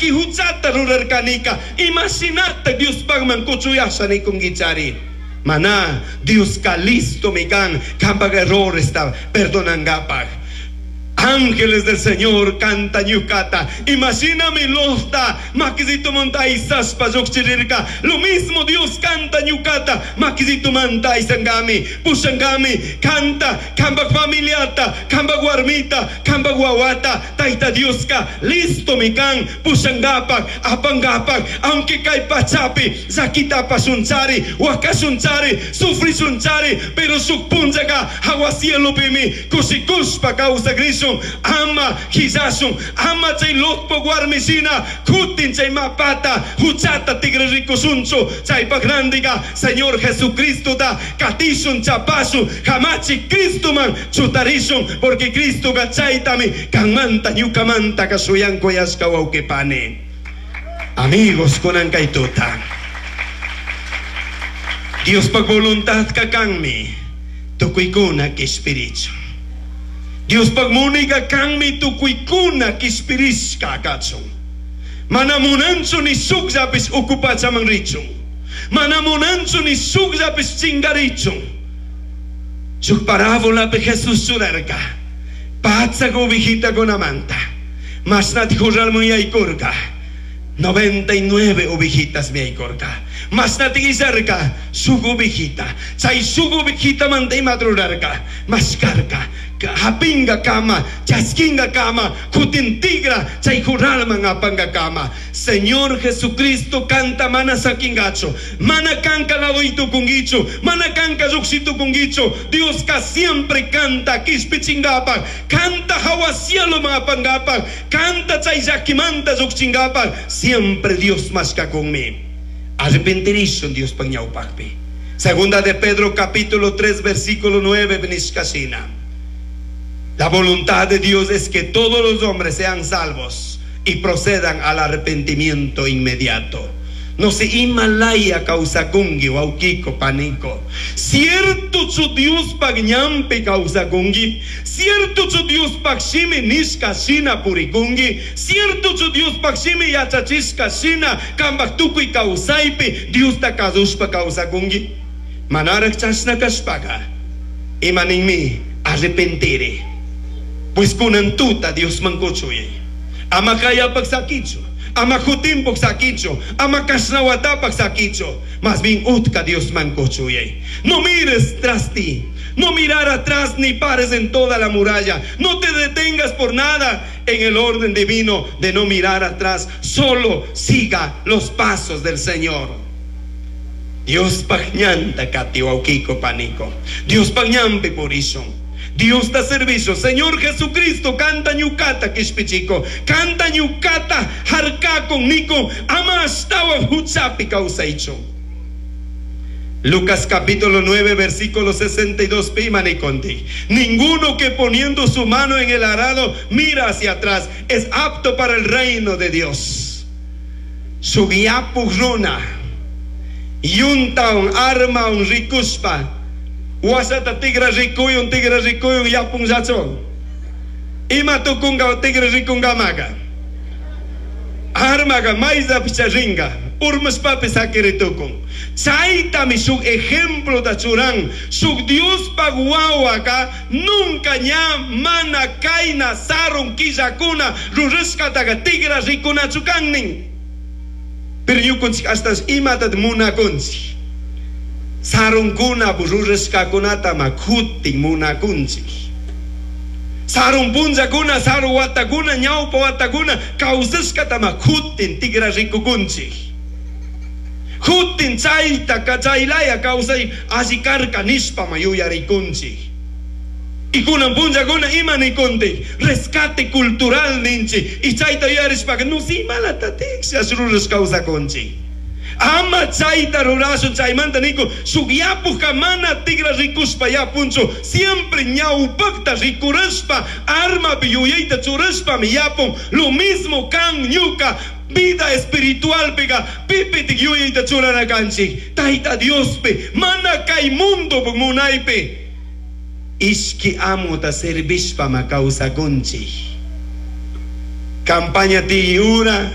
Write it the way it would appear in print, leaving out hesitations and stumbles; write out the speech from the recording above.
Llaqui huchata rurarkanika, imashinata Diospajman kuchuyasha nikunkichari. Mana, Dioska listomi kan kambaj erroresta perdonangapaj. Ángeles del Señor kanta ñukata, imashinami Lotta makisitumanta aysashpa llujchirirka, lo mismo Dios kanta ñukata makisitumanta aysangami, pushangami, kanta, kambaj familiata, kambaj warmita, kambaj wawata, Tayta Dioska listomi kan pushangapaj, apangapaj, aunque kay pachapi llaquita apashunchari, huacashunchari, sufrishunchari, pero shuk punllaga jahua cielopimi kushikushpa kawsakrishun, ama jillashun, ama chay Lotpaj warmi shina kutin chay mapata huchata tigrarikushunchu, chaypaj randiga Señor Jesucristota katishun, chapashun, kamachi Cristoman chutarishun, porque Cristoga chaytami kanmanta ñukamanta shuyankuyashka, wawqipani. Amigos, kunan kay tuta. Diospaj voluntadka kanmi tukuykuna kishpirichun. Diospaj munayka kanmi tukuykuna kishpirishka kachun. Mana munanchu ni shukllapis uku pachaman richun. Mana munanchu ni shukllapis chingarichun. Shuk parábolapi Jesús churarka. Patsak ovejitakunamanta. Mashnati corralman yaykurka. 99 ovejitas yaykurka. Mashnati illarka shuk ovejita. Chay shuk ovejitamanta imata rurarka. Mashkarka. Hapinga kama, chaskinga kama, kutin tigra, chay corralman apanga kama. Señor Jesucristo kanta mana sakingachu, mana kanka ladoitukungichu, mana kanka llukshitukungichu. Dioska siempre kanta kishpichingapak, kanta hawa cieloman apangapak, kanta chay llakimanta llukchingapak, siempre Dios mashkakunmi. Arrepentirishun Diospaj ñawpajpi. Segunda de Pedro capítulo 3 versículo 9 nishkashina. La voluntad de Dios es que todos los hombres sean salvos y procedan al arrepentimiento inmediato. No se imalaya kawsakungi, wawkiko, paniko. Cierto chu Diospaj ñampi kawsakungi. Cierto chu Diospaj shimi nishka shina purikungi. Cierto chu Diospaj shimi yachachishka shina kambaj tukuy kawsaypi Diosta kasushpa kawsakungi. Manaraj chashna kashpaka. Imaninmi arrepentiri. Pues kunan tuta Diosman kuchuyay. Ama kayapaj sakichu. Ama kutinpaj sakichu. Ama kashnawatapaj sakichu. Más bien utka Diosman kuchuyay. No mires tras ti. No mirar atrás ni pares en toda la muralla. No te detengas por nada en el orden divino de no mirar atrás. Solo siga los pasos del Señor. Diospaj ñanta kati, wawkiko, paniko. Diospaj ñampi purishun. Dios da servicio. Señor Jesucristo, kanta ñukata kishpichiko. Kanta ñukata harkakun niko. Ama ashtawan huchapi kawsaichu. Lucas capítulo 9, versículo 62, pi ima nikunti. Ninguno que poniendo su mano en el arado mira hacia atrás es apto para el reino de Dios. Shuk yapuj runa, yuntawan armawan rikushpa, wasata tigra rikuyun, tigra rikuyun, yapunllachu. Ima tukunga tigra rikungamaka. Armaga mayllapicha ringa, urmashpapis sakiritukun. Chaytami shuk ejemplota churan, shuk Diospaj wawaka nunca ña mana kayna sarun killakuna rurashkataqa tigra rikunachu kan nin. Pero ñukunchik hasta imatat munakunchik. Sarunkuna rurashkakunata ma kutin munakunchik. Sarun punllakuna, sarun watakuna, ñawpa watakuna kawsashkata ma kutin tigra rikukunchik. Kutin chayta chaylaya kawsay alli karka nishpa ma yuyarikunchik. Y kunan punllakuna ima nikuntik, rescate cultural ninchik. Y chayta yuyarishpaka no si imalatatik rurash kawsakunchik. Ama chayta rurashun chaymanta niko shuk yapuka mana tigra rikushpa yapunchu, siempre ñawpakta rikurashpa armapi yuyayta churashpami yapun. Lo mismo kan ñuka vida espiritual pega pipitik yuyayta churana kanchik Tayta Diospi mana kay mundo munaypi ishki amuta servishpa ma kawsakunchik. Campaña tiyura.